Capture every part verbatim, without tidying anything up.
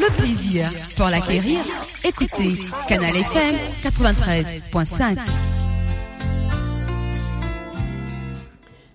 Le plaisir pour l'acquérir, écoutez Canal F M quatre-vingt-treize point cinq.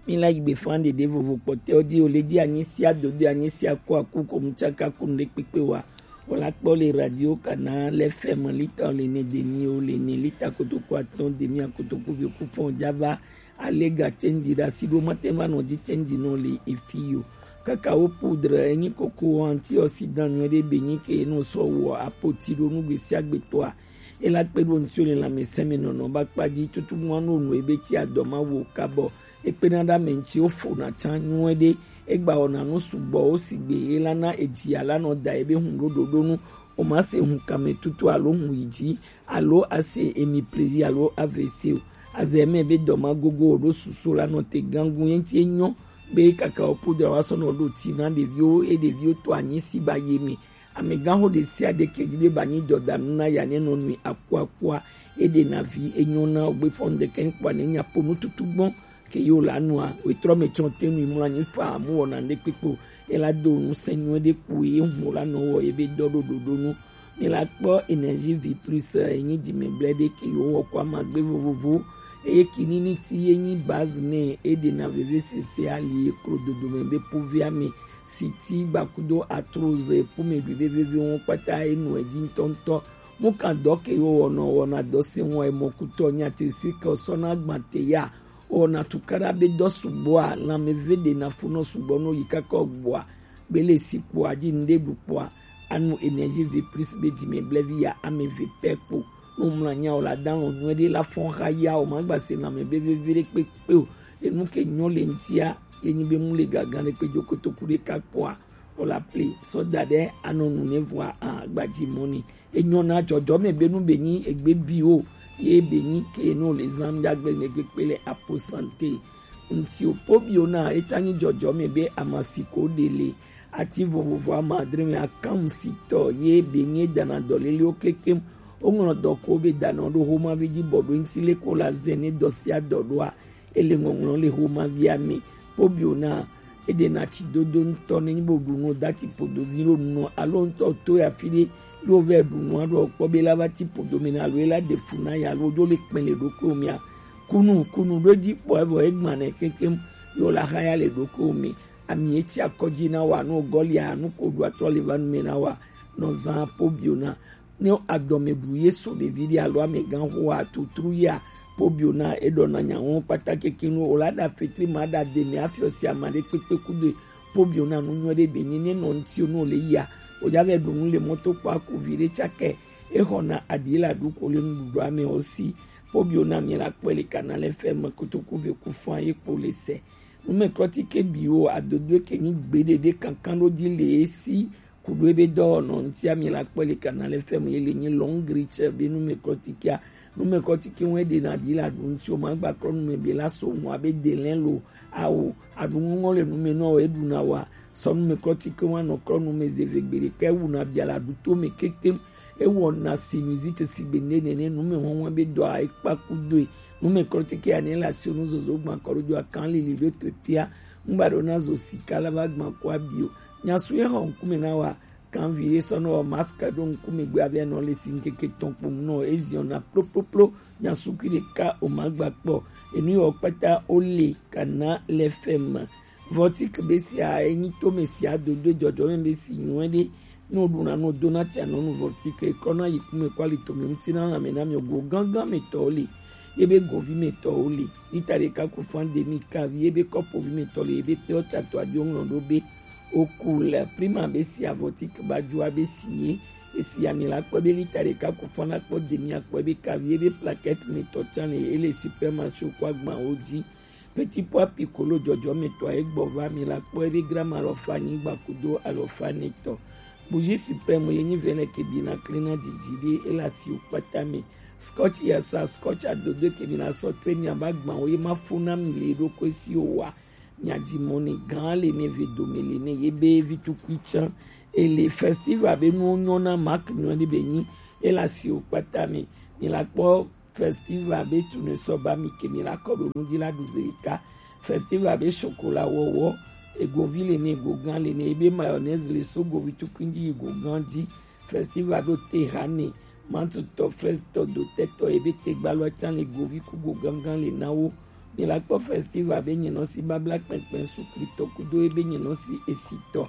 Mi la yi gbe fan ɖeɖe vovo kpɔtɛ ɔ di o le di anyi sia dodo anyi sia ko aku ko mu tsaka ku nuɖe kpekpe wa. O la kpɔ le radio kana lɛ fɛ mɔ lita o le ne demi o le ne lita kotoku atɔn demi akotoku vi oku fɔn java. Ale ga tsenji ɖe asi ɖo mate va nɔ dzi tsenji nɔ le efi yo. Kakao poudre enyi koko antioxydant nyuie ɖe be nyi ke nɔ sɔ wɔ apoti ɖo nugbe sia gbe tɔa. Ela kpe ɖo ŋutsu le lãmesẽ me nɔnɔ ba kpa dzi tutu ŋua no nu ebe ti adɔ ma wo kabɔ. Ekpena ɖe ame ŋuti wofona tsã nyuie ɖe. Egba wɔna nu sugbɔ wo sigbe ela na edzi ala nɔ da ebe hun ɖo ɖoɖo nu. O ma se hun kame tutu alo hun yi dzi alo ase emi plezi alo A V C o. Azɛ mɛ be dɔ ma gogo o ɖo susu la nɔ te gangun ye ŋuti enyɔ be kakao poudre wa sɔ nɔ ɖo ti na ɖeviwo e ɖeviwo to anyi si ba ye me. Amegãxo ɖe sia ɖe ke dzi be ba nyi dɔdanu na ya ne nɔ nui akuakua. E ɖe na vi enyɔ na ogbe fɔn ɖeke kpɔ ne nya po nu tutu gbɔn ke yo la nua wetrɔ me tsɔ te nui mlɔ anyi fa amu wɔna ɖe kpekpe o. E la do nu se nyuie ɖe kpo ye hu la nɔ wɔ ye be dɔ ɖo ɖoɖo nu. Mi la kpɔ Énergie Vie Plus enyi dzi me blɛ ɖe ke yo wɔ kɔ amagbe vovovo. Eye kinini ti ye nyi base ne e ɖe na veve sese ali eklo dodo me be po via me. Siti gbakudo arthrose, epu me ɖui be veve wo kpata enu edzi ŋutɔŋutɔ. Mu kan dɔ ke yo wɔnɔ wɔna dɔ se wɔn emɔkutɔ nya te si ke sɔ na gba te ya. Wɔna tukaɖa be dɔ sugbɔa lãme ve ɖe na funɔ sugbɔ no yi kakɔ gbɔa. Gbele si kpoa dzi ŋɖe ɖu kpoa. Anu Énergie Vie Plus be dzi me blɛ vi ya ame ve pɛ kpo. No mla nya o la dan lɔ nyuie ɖe la fɔn xa ya o ma gba se lãme be veve ɖe kpekpe o. Enu ke nyɔ le ŋutia ye nyi be mu le gagan ɖe kpe dzo kotoku ɖe ka kpoa. O la pli sɔ da ɖe anɔ nu ne vɔa a gbadzi mɔ ni. Enyɔ na dzɔdzɔme be nu be nyi egbe bi o ye be nyi ke no le zam ya gbe ne gbe kpe le apo sante. Ŋuti o po bi o na eta nyi dzɔdzɔme be amasi ko ɖe le ati vovovo ama adre me akam si tɔ ye be nyi dana dɔ lele o kekem. O ŋlɔ dɔ ko be dana ɖo homa be dzi bɔ ɖo ŋuti le ko la ze ne dɔ sia dɔ ɖoa. Ele ŋɔŋlɔ le homa via me. Pobio na eɖena tsi dodo ŋutɔ ne nyi bo ɖu nu dati podo zi ɖo nu alo ŋutɔ to ya fi ɖe ɖo vɛ ɖu nu aɖo kpɔ be la va ti podo me na alo ela ɖe fu na ya alo ɖo le kpɛ le ɖokui mea kunu kunu ɖo dzi kpɔ evɔ egba ne kekem yo la xa ya le ɖokui me ami etsi akɔdzi na wa nu gɔlia nu ko ɖu atrɔ le va nu me na wa nɔ zã pobio na Ne adɔmeɖu ye so ɖevi ɖe alo amegã hoa tutru ya, pobio na eɖɔna nyawo kpata keke nu o la ɖa fetri ma ɖa de me afiɔ si ama ɖe kpekpe kudo pobio na nu nyɔ ɖe be nyi ne nɔ ŋuti nu le ya o ja vɛ ɖu nu le mɔto kpɔ aku vi ɖe tsakɛ exɔna aɖi la ɖu ko le nuɖuɖu ame o si pobio na mi la kpɔe le kana le fɛ me kotoku ve ku fan ye kpo le se. Numɛklɔtike biwo adodoe ke nyi gbeɖe ɖe kankan ɖo dzi le esi kuɖo ebe dɔwɔnɔ ŋutia mi la kpɔe le kana le fɛmu ye le nyi long reach be numɛklɔtikea. Numɛklɔtike ŋu eɖena ɖi la ɖu ŋuti o ma gba klɔ numɛ be la so ŋu abe delɛ lo awo aɖu ŋɔŋɔ le numɛ nɔ eɖuna wa sɔ numɛklɔtike ŋu anɔ klɔ numɛ zeve gbeɖe ke wuna bia la ɖu to me kekem. Ewɔna sinusite sigbe nene ne nume wɔwɔ be dɔa ekpa kudoe. Nume klɔtike ya ne la sio nu zozo gban kɔɖo dzoa kan lili ɖo to tia. Ŋgba ɖo na zo sika la va gban kɔ abio. Nyasu ye xɔ ŋkume na wa kan vi ye sɔ nɔ wɔ mask ɖo ŋkume gbe abe nɔ le si ŋkeke tɔn kpom nɔ eziɔ na ploploplo. Nyasu kui ɖeka o ma gba kpɔ. Enu yɔ kpata o le kana le fɛ me. Vɔtik be sia enyi tome sia dodo dzɔdzɔme be si nyuie ɖe. Ne woɖuna nu dona tia nɔnu vɔtik eklɔna yi kume kɔ ali tome ŋuti na lãme na miɔ go gángan me tɔwo le. Ye be govi me tɔwo le. Lita ɖeka ku fan demi kavi ye be kɔpovi me tɔ le ye be pure tato adio ŋlɔ ɖo be oku le prima be sia vɔtik ba dzoa be si ye. Esi ami la kpɔ be lita ɖeka ku fan la kpɔ demi akpɔ be kavi ye be plaquette me tɔ tsa le ele supermarché ko agbawo dzi. Petit pois piccolo dzɔdzɔmetɔ egbɔ va mi la kpɔ ebe grama alɔfa nyigba kudo alɔfa nɛtɔ. Bougie suprême ye nyi vɛnɛ ke bi na klena didi ɖe ela si o kpata me. Scotch ya sa scotch adodo ke bi na sɔ tre mi aba gban o ye ma fo na mi le ɖo ko si o wa. Mi adi mɔ ne gan le ne ve dome le ne ye be vi tukui tsan. Ele festival be nuwo nyɔ na mark nyɔ ne be nyi ela si o kpata me. Mi la kpɔ Festival be tunu sɔ ba mi ke mi la kɔ ɖo nu dzi la ɖu zerika. Festival be chocolat wɔwɔ. Egovi le ne, egogan le ne, ebe mayonnaise le so govi tukui ji yi gogan ji. Festival ɖo te ha ne, mantutɔ, fraise tɔ, dotɛtɔ, ebe tegbalo can le govi ku gogangan le na wo. Mi la kpɔ festival be nyinɔsi babla kpɛnkpɛn sukli tɔ kudo ebe nyinɔsi esi tɔ.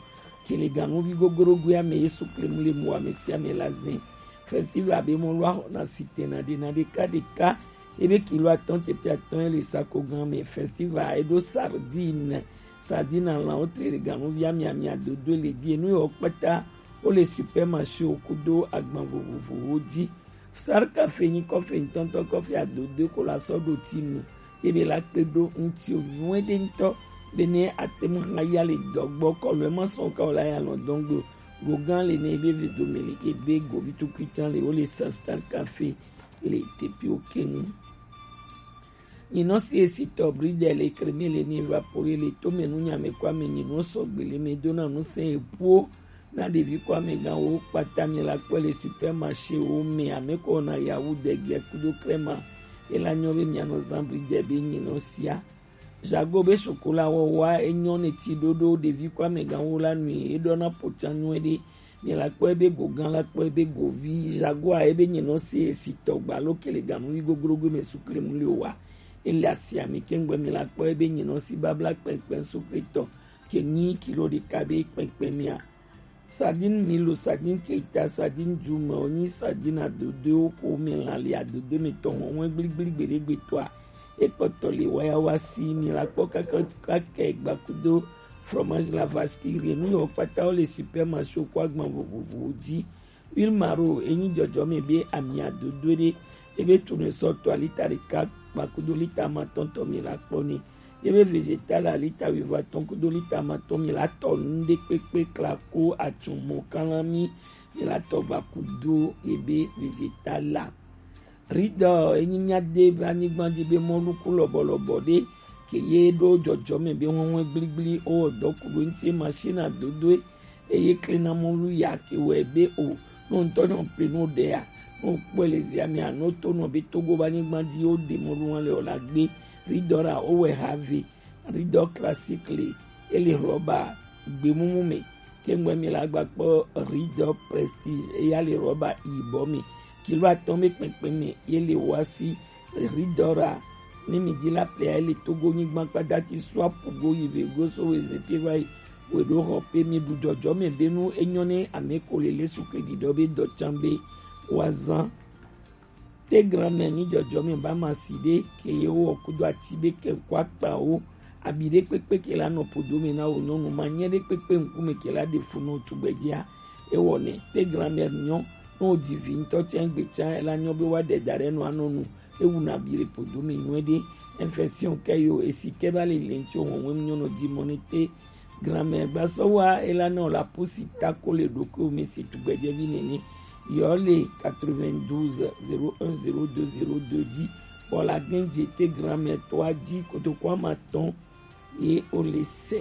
Kele ganuvi gogorogoe ame ye sukli mu le mu ame sia ame la zɛn. Festival be mɔ lɔ axɔ na si tɛna ɖe na ɖeka ɖeka. Ebe kilo atɔn teƒe atɔn ye le sakogan me. Festival eɖo sardine. Sardine, alã, wo tre le ganuvi ame ame adodo le ji. Enu yewo kpata wo le supermarché wo kudo agban vovovowo ji. Star Cafe nyi kɔfe ŋutɔŋutɔ, kɔfe adodo ko la sɔ ɖo ti nu. Ye be la kpe ɖo ŋuti o nyuie ɖe ŋutɔ. Be ne ate ŋu hã ya le dɔ gbɔ kɔlu ema sɔn ka o la ya lɔ dɔn gbe o. Gogan le ne ebe ve dome le ebe govi tukui can le wo le sa Star Cafe le teƒewo keŋ. Nyinɔsi esi tɔ bridɛ le kremi le ni evapore le tome nu nyame kɔ ame nyinɔ sɔgbe le me dona nu se epuo na ɖevi kɔ ame gan wo kpata mi la kpɔ le supermarché wo me ame kɔ na yawu dɛgɛ kudo krema ela nyɔ be mianɔ zan bridɛ be nyinɔsia. Jago be chocolat wɔwɔa enyɔ ne ti ɖoɖo ɖevi kɔ ame gan wo la nui eɖɔ na pocan nyuie ɖe. Mi la kpɔ ebe gogan la kpɔ ebe govi jagoa ebe nyinɔsi esi tɔ gba lo kele ganuvi gogorogo me sukle mu le wa. Ele asi ami kengbe mi la kpɔ ebe nyinɔsi babla kpɛnkpɛn sukle tɔ ke nyi kilo ɖeka be kpɛnkpɛn mia. Sardine milo, sardine keita, sardine jume, onyi sardine adodo ko me la le adodo me tɔ hɔn wɛ gbligbligbede gbetɔa. Ekpɔtɔ le wayawa si mi la kpɔ kaka kaka gbakudo fromage la vache qui rit nu yɔ kpata wo le supermarché ko agban vovovowo ji. Huile maro enyi jɔjɔme be ami adodo ɖe ebe tunu sɔ tɔ lita ɖeka kpakudo lita amatɔn tɔ mi la kpɔ ni. Ebe vegetal a lita wuiatɔn kudo lita amatɔn mi la tɔ nu ɖe kpekpe klako atsumɔ kalami mi la tɔ gbakudo ebe vegetal la. Ridɔ enyi mía de be anyigba dzi be mɔlu ku lɔbɔlɔbɔ ɖe ke ye ɖo jɔjɔme be hɔhɔe gbligblí owɔ dɔ ku ɖo ŋuti machine adodoe eye klena mɔlu ya ke wɔe be o no ŋutɔ nyɔ pe no ɖea no kpɔe le zia mea no to nɔ be Togo be anyigba dzi wo ɖe mɔlu hã le o la gbe ridɔ ɖa owɔe ha ve. Ridɔ classique le ele rɔba gbemumu me. Kengbe mi la gba kpɔ ridɔ prestige eya le rɔba yibɔ me. Kilo atɔn be kpɛnkpɛn me ye le wa si ridɔ ra. Ne mi di la plea ele Togo nyigba kpadati sua pugo yi ve go so weze pe va yi we ɖo xɔ pe mi ɖu jɔjɔ me be nu enyɔ ne ame ko le lesu ke ɖiɖɔ be dɔ can be wa zan. Te grand-mère nyi jɔjɔme ba ma si ɖe ke ye wɔ kudo ati be ke ko akpa wo. Abi ɖe kpekpe ke la nɔ podo me na wo nyɔnu ma nyɛ ɖe kpekpe ŋkume ke la ɖe fu nɔ tugbedzea. Ewɔ nɛ te grand-mère nyɔ nɔ wo dzi vi ŋutɔ tsɛ gbe tsã ela nyɔ be wa ɖe da ɖe nɔ anɔ nu. Ewu na bi ɖe podo me nyuie ɖe. Infection ke yo esi ke ba le le ŋutsi wo wɔn nyɔ nɔ dzi mɔ ne te Grand-mère gbasɔwa ela nɔ la pusi tako le ɖokuiwo me si tugbedzɛvi nene. Yɔ le quatre-vingt-douze zéro un zéro deux zéro deux dzi. Bɔ la gɛn dze te grand-mère tɔa dzi kotoku ama tɔn ye o le sɛ.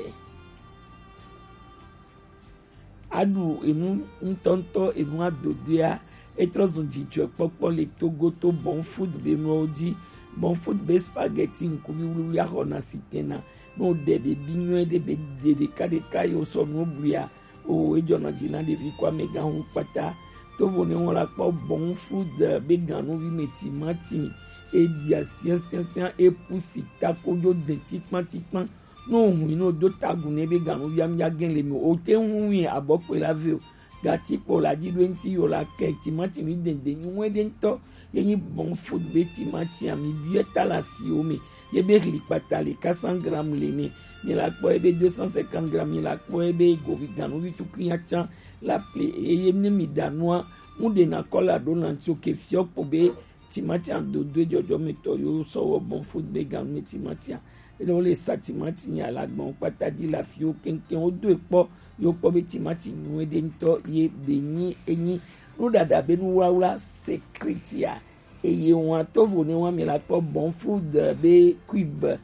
Aɖu enu ŋutɔŋutɔ enu adodoea etrɔ zun dzidzɔkpɔkpɔ le Togo to Bon Food be nuwo dzi. Bon Food be spaghetti ŋkuvi wluwlui axɔ na si tena. Ne wo ɖe ɖevi nyuie ɖe be ɖe ɖeka ɖeka ye wo sɔ nuwo bluia, o ejɔnɔ dzi na ɖevi ko amegã hu kpata. Tovo ne wɔn la kpɔ Bon Food be ganuvi me timati, eɖia siasiasia, epusi tako dzo de tikpatikpa. Ne wo hui ne wo do tagu ne be ganuvi amia gen le mi o te ŋu hui abɔ kpe la ve o. Gati kpɔ la dzi ɖo eŋuti yo la kɛ timati mi dende nyuie ɖe ŋutɔ. Ye nyi Bon Food be timati ami biɛ ta le asiwo me. Ye be hli kpata le quatre cents grammes le ne. Mi la kpɔ ye be deux cent cinquante grammes, mi la kpɔ ye be govi ganuvi tukui atsa la ple eye ne mi ɖa nua ŋu ɖe na kɔ la ɖo na ŋuti o ke fiɔ kpo be timati adodoe jɔjɔmetɔ yo sɔ wɔ Bon Food be ganu me timatia. Ene wo le sa timati nya la gbɔn kpata dzi la fi wo keŋkeŋ wo do ekpɔ yo kpɔ be timati nyuie ɖe ŋutɔ ye be nyi enyi nuɖaɖa be nuwlawla secret ya. Eye wɔn tovo ne wɔn mi la kpɔ Bon Food be cube.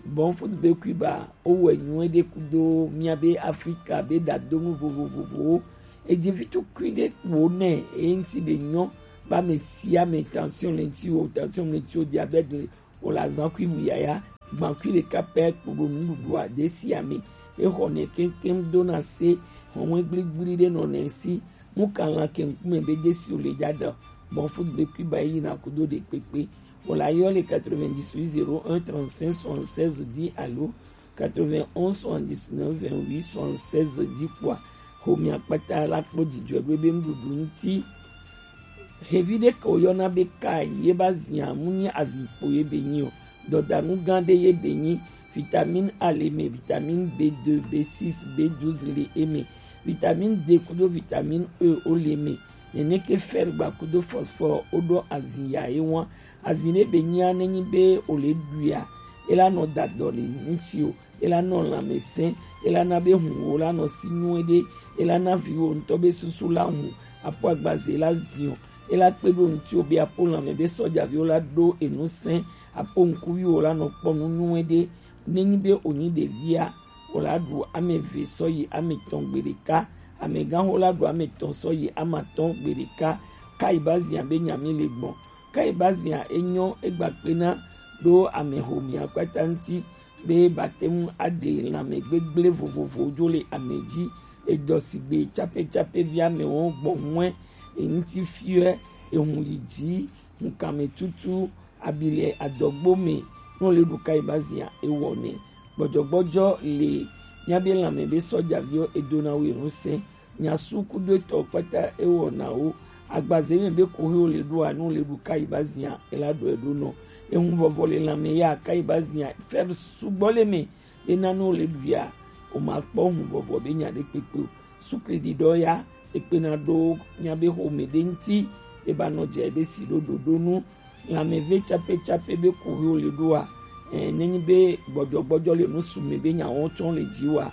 Bon Food be cube a wowɔe nyuie ɖe kudo mía be Afrika be ɖadonu vovovovowo. Edzi vi tukui ɖe kpo nɛ eye ŋuti be nyɔ ba me sia me tension le ŋuti o, tension le ŋuti o, diabète le o la zan kui bu yaya gban kui ɖeka pɛ kpo ɖo nuɖuɖua ɖe sia me. E xɔ nɛ kɛnkɛn dona se hɔnwe gbligbli ɖe nɔ nɛ si. Mu kan lan kɛnkume be Jesu le ja ɖe bɔn fu gbe kui ba yi na kudo ɖe kpekpe. Wòle ayɔ le quatre-vingt-dix-huit zéro un trente-cinq soixante-seize dix alo quatre-vingt-onze soixante-dix-neuf vingt-huit soixante-seize dzi kpɔa, xomea kpata la kpɔ dzidzɔe ɖo ebe nuɖuɖu ŋuti. Xevi ɖe ke woyɔna be kai ye ba zia mu nyi azikpo ye be nyi o. Dɔdanu gã ɖe ye be nyi. Vitamine A le me, vitamine B deux, B six, B douze le eme. Vitamine D kudo vitamine E wo le me. Nene ke fer gba kudo phosphore wo ɖo azin ya ye wan. Azin ɖe be nyia ne nyi be o le ɖuia, e la nɔ da dɔ le ŋuti o, e la nɔ lanmɛsɛn, e la na be hun wo la nɔ si nyuie ɖe, e la na viwo ŋutɔ be susu la hun, apo agbaze la ziɔ, e la kpe ɖo ŋuti o be apo lanmɛ be sɔjaviwo la ɖo enu sɛn, apo ŋkuviwo la nɔ kpɔ nu nyuie ɖe. Ne nyi be o nyi ɖevia, o la ɖu ame eve sɔ yi ame etɔn gbe ɖeka, amegãxo la ɖu ame etɔn sɔ yi ame atɔn gbe ɖeka. Kai ba zia be nya mi le gbɔn. Kai ba zia e nyɔ e gba kpena ɖo ame xomea kpata ŋuti be batɛmu a ɖe lanmɛ gbegble vovovowo jo le ame ji. Edɔ sigbe capɛcapɛ vi ame wɔn gbɔn ŋue, eŋuti fiɔ, ehun yi ji, hunkanmɛ tutu, abi le adɔgbo me, ne wo le ɖu kai ba zia e wɔ nɛ. Gbɔjɔgbɔjɔ le mia be lanmɛ be sɔjaviwo e dona wo enu sɛn. Nyasu kudo etɔ kpata e wɔna wo. Agbaze me be kohe wo le ɖoa, ne wo le ɖu kai ba zia e la ɖɔ e ɖo nɔ. Ehun vɔvɔ le lanmɛ ya kai ba zia fer sugbɔ le me. Ena ne wo le ɖu ya, o ma kpɔ hun vɔvɔ be nya ɖe kpekpe o. Sukli ɖiɖɔ ya, e kpena ɖo mia be xome ɖe ŋuti, e ba nɔ dze be si ɖo ɖoɖo nu. Lanmɛve capɛcapɛ be kuxi wo le ɖoa, ɛ, ne nyi be gbɔjɔgbɔjɔ le nu su me be nya wɔn tsɔ le dzi wa,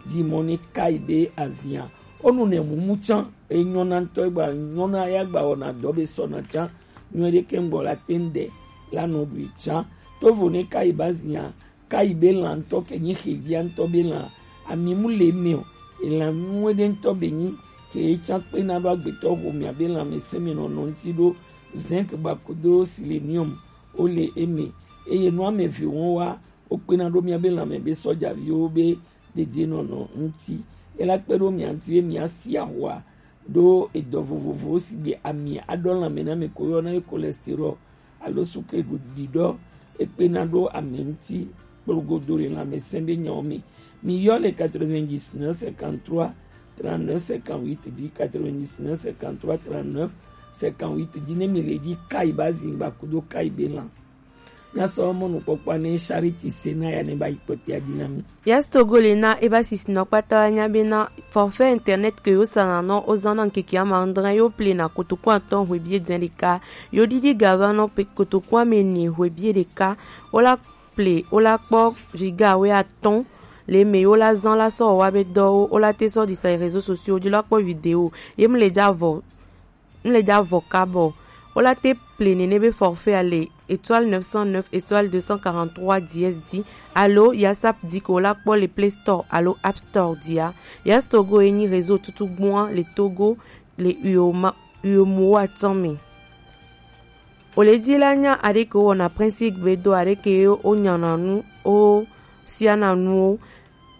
dzi mɔ ne kai be azia. O nu ne mumu tsan, e nyɔna ŋutɔ, e gba nyɔna ya gba wɔna dɔ be sɔna tsan. Nyuie ɖe ke ŋgbɔ la te ŋɖe la nɔ ɖui tsan. Tovo ne kai ba zia, kai be lan ŋutɔ ke nyi xevia ŋutɔ be lan, ami mu le me o. Elan nyuie ɖe ŋutɔ be nyi ke ye tsan kpena ɖo agbetɔ xomea be lanmɛsɛn me nɔnɔ ŋuti ɖo. Zinc gba kudo selenium wo le eme. Eye nu ame eve wɔn wa, wo kpena ɖo mia be lanmɛ be sɔjaviwo be dedienɔnɔ ŋuti. Ela kpe ɖo mia ŋuti be mia si ahoa ɖo edɔ vovovowo sigbe ami aɖɔ lanmɛ na ame ko yɔna be cholestérol alo sukle ɖiɖɔ, ekpena ɖo ame ŋuti kplogodo le lanmɛsɛn be nyawo me. Mi yɔ le quatre-vingt-dix-neuf cinquante-trois trente-neuf cinquante-huit dzi, quatre-vingt-dix-neuf cinquante-trois trente-neuf cinquante-huit dzi ne mi le dzi kai ba zingba kudo kai be lan. Míasɔ mɔnukpɔkpɔa ne Charity Sena ya ne ba yi kpɔtea dzi na mí. Yes Togo le na eba sisinɔ kpata wa nya be na forfait internet ke yo sana nɔ o zan na ŋkeke ama adre yo ple na kotoku atɔn hwebi edzɛ ɖeka, yo ɖiɖi ga va nɔ pe kotoku ame ene hwebi ɖeka. O la ple, o la kpɔ giga we atɔn le me, yo la zan la sɔ wa be dɔwo, o la te sɔ disa réseaux sociaux dzi la kpɔ vidéo ye mu le dza vɔ. N le dza vɔ kabɔ. Wo la te ple nene be forfait a le étoile neuf cent neuf étoile deux cent quarante-trois dièse dzi alo yasap di ke wo la kpɔ le Play Store alo App Store dzia. Yas Togo ye nyi réseau tutugbua le Togo le Uyoma, Uyomowa tɔn me. Wo le di la nya aɖe ke wo wɔna principe be do aɖe ke wo nyana nu, wo siana nuwo.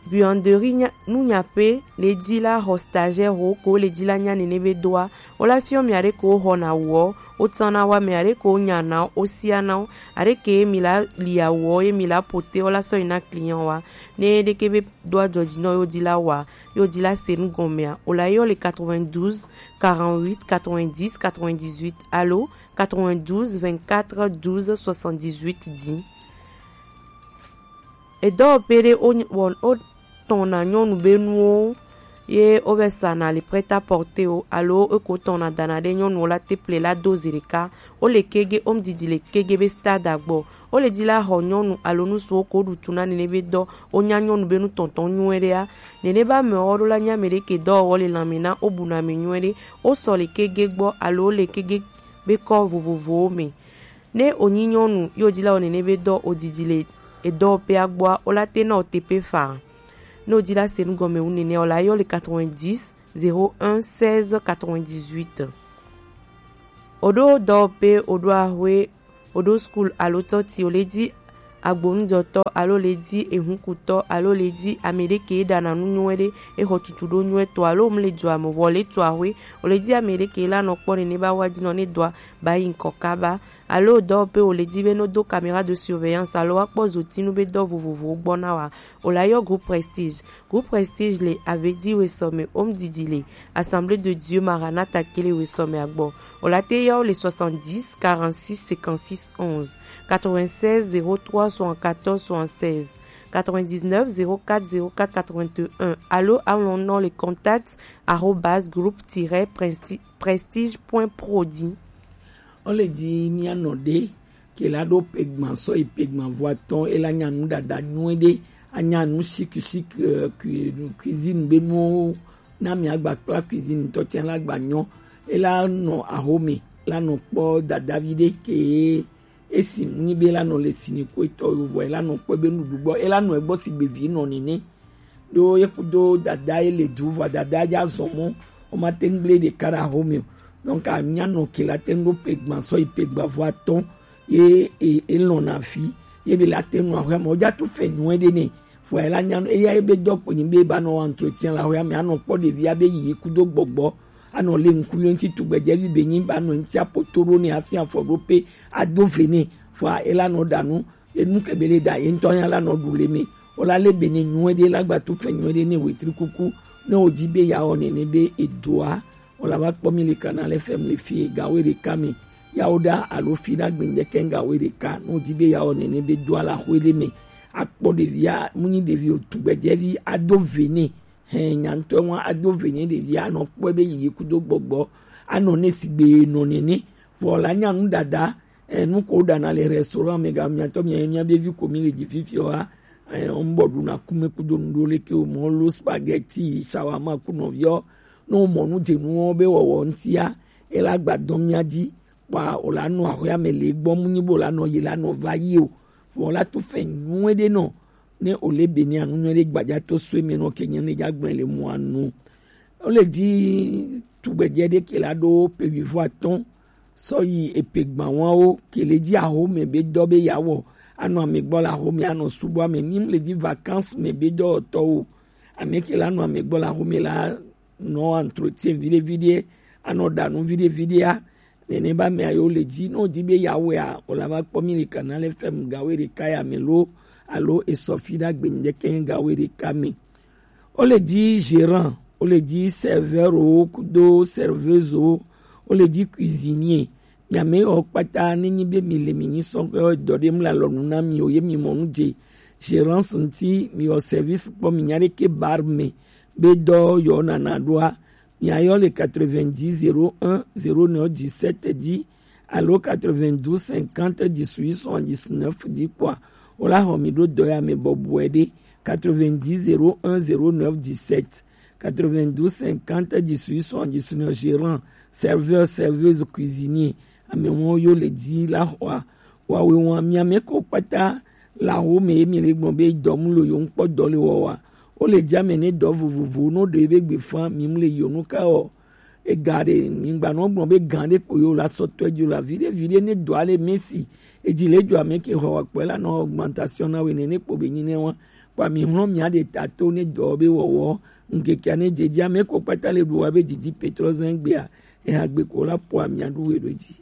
Buanderie nya, nu nyaƒe le di la xɔ stagiaire wo ko le di la nya nene be doa. Wo la fiɔ mi aɖe ko wo xɔna wɔ, wo tsana wa mi aɖe ko wo nyana, wo siana wo, aɖe ke mi la lia wɔ ye mi la pote wo la sɔ yi na client wa. Ne ɖeke be doa dzɔdzi nɔ yo di la wa, yo di la se nu gɔmea, wo la yɔ le quatre-vingt-douze quarante-huit quatre-vingt-dix quatre-vingt-dix-huit alo quatre-vingt-douze vingt-quatre douze soixante-dix-huit dzi. Edɔwɔƒe ɖe wo, wɔ, wotɔna nyɔnu be nuwo ye wovɛ sana le prêt-à-porter o alo eko tɔna dana ɖe nyɔnuwo la te ple la do zi ɖeka. Wo le kege, wo didi le kege be stade agbɔ. Wo le di la xɔ nyɔnu alo nusuwo ko ɖu tu na nene be dɔ. Wo nya nyɔnu be nu tɔntɔn nyuie ɖea. Nene be amewo ɖo la nya ame ɖe ke dɔwɔwɔ le lãme na wo bu na ame nyuie ɖe. Wo sɔ le kege gbɔ alo wo le kege be kɔ vovovowo me. Ne wònyi nyɔnu ye wòdi la wɔ nene be dɔ wòdidi le edɔwɔƒea gbɔa, wola te na wò teƒe faa. Ne wòdi la se nu gɔme wu nene, wòla yɔ le quatre-vingt-dix zéro un seize quatre-vingt-dix-huit. Wòɖo dɔwɔƒe, wòɖo ahoe, wòɖo school alo tɔti, wòle di agbonujɔtɔ alo le di ehunkutɔ alo le di ame ɖe ke ɖana nu nyuie ɖe, exɔ tutu ɖo nyuie tɔ alo mu le dzɔ ame vɔ le tu ahwe, o le di ame ɖe ke la nɔ kpɔ nene ba wa dzi nɔ ne dɔa ba yi ŋkɔ kaba. Alo dɔ pe o le di be no do caméra de surveillance alo wa kpɔ zotinu be dɔ vovovowo gbɔ na wa, o la yɔ groupe Prestige. Groupe Prestige le Avedi Wesome Home Didi le Assemblée de Dieu Maranatha Kele Wesome Agbo. O la te yɔ le soixante-dix quarante-six cinquante-six onze, quatre-vingt-seize zéro trois soixante-quatorze soixante-seize, quatre-vingt-dix-neuf zéro quatre zéro quatre quatre-vingt-un. Alo alon non le contact arobase groupe tiret prestige point pro di. O le di mia nɔ ɖe ke la ɖo pegban sɔ yi pegban vo atɔn, e la nya nu ɖaɖa nyuie ɖe, anya nu chic chic, euh, cui-, cuisine be nuwo na mi agba kpla cuisine tɔ tiɛ la gba nyɔ. E la nɔ ahome la nɔ kpɔ dadavi ɖe ke esi nyi be la nɔ le sini ko etɔ yo vɔ e la nɔ kpɔ be nuɖuɖu gbɔ e la nɔ egbɔ si gbe vi nɔ nene. Ɖo ye kudo dada ye le du vɔ dada ja zɔn mɔ o ma te ŋgble ɖeka ɖe ahome o. Donc anya nɔ ke la te ŋ ɖo pegban sɔ yi pegban vo atɔn ye e, e lɔn na fi ye be la te nu ahwe ame o ja tu fɛ nyuie ɖe ne. Vɔ e la nya nu eya ye be dɔ kpo nyi be ba nɔ wa entretien la ahwe ame anɔ kpɔ ɖevi abe yi kudo gbɔgbɔ anɔ le ŋku yo ŋti tugbedzevi be nyi ba nɔ ŋti apoto ɖo ne afi afɔ ɖo pe ado ve ne. Vɔ e la nɔ ɖa nu enu ke be le ɖa ye ŋtɔ ya la nɔ ɖu le me. O la le be ne nyuie ɖe la gba tu fɛ nyuie ɖe ne wetri kuku ne o di be ya wɔ nene be edoa. O la va kpɔ mi le Canal F M le fi gawe ɖeka me. Ya o ɖa alo fi ɖa gbɛngbɛ kɛ gawe ɖeka ne o di be ya wɔ nene be do ala xwe ɖe me. Akpɔ ɖevi a mu nyi ɖevi o tugbedzevi ado ve ne. Hɛn nya ŋtɔ wa ado ve ne ɖevi anɔ kpɔe be yi kudo gbɔgbɔ anɔ ne sigbe nɔ nene. Vɔ la nya nu ɖaɖa. Enu ko ɖana le restaurant me ga miatɔ mia mia be vi ko mi le dzi fifia wa. Ɔn bɔ ɖuna kume kudo nu ɖo leke o mɔ lo spaghetti shawarma ku nɔviɔ. Ne o mɔ nu dze nuwo be wɔwɔ ŋtia e la gba dɔn mia dzi. Kpa o la nɔ axɔa me le gbɔ mu nyi bo la nɔ yi la nɔ va yi o. Vɔ la to fɛ nyuie ɖe nɔ ne o le be ne anu nyuie ɖe gbadza to so eme nɔ ke nye ne dza gblẽ le mɔ anu. O le di tugbedze ɖe ke la ɖo pe wi vo atɔn sɔ yi epe gbawawo ke le di aho me be dɔ be ya wɔ anɔ ame gbɔ le aho me anɔ subɔ ame mi le di vacances me be dɔwɔtɔwo ame ke la nɔ ame gbɔ le aho me la nɔ entretien viɖe viɖe anɔ ɖa nu viɖe viɖea. Nene ba me ayo le di no di be ya wɔ ya o la va kpɔ mi le Canal F M gawe ɖeka ya me lo alo esɔfi ɖa gbe ŋdeke gawe ɖeka me. O le di gérant, o le di serveur o kudo serveuse o, o le di cuisinier. Mi ame o kpata ne nyi be mi le mi nyi sɔn ke dɔ ɖe mla lɔ nu na mi o ye mi mɔ nu dze gérance ŋti mi o service kpɔ mi nya ɖe ke bar me be dɔ yɔ nana ɖoa. Mi ayɔ le quatre-vingt-dix zéro un zéro neuf dix-sept di alo quatre-vingt-douze cinquante dix-huit soixante-dix-neuf di kpɔa. O la xɔ mi ɖo dɔ ya me bɔbɔe ɖe quatre-vingt-dix zéro un zéro neuf dix-sept, quatre-vingt-douze cinquante dix-huit soixante-dix-neuf gérant, serveur, serveuse, cuisinier. Ame wo yo le di la xɔa. Wa we wa mi ame ko kpata la wo me mi le gbɔn be dɔ mu lo yo ŋkpɔ dɔ le wɔ wa. O le di ame ne dɔ vovovo no ɖe be gbe fa mi mu le yo nu ka o. Ega ɖe mi gba nɔ gblɔ be gã ɖe kpo yo la sɔ tɔ edzo la viɖe viɖe ne dɔ ale mesi edzi le dzo ame ke xɔ wa kpɔe la nɔ augmentation na we ne ne kpo be nyi ne wa kpa mi hlɔ mia ɖe ta to ne dɔ be wɔwɔ ŋkekea ne dzedzi ame ko kpata le ɖu wa be dzidzi petrɔ zɛn gbea eha gbe ko la po amia ɖu we ɖo dzi.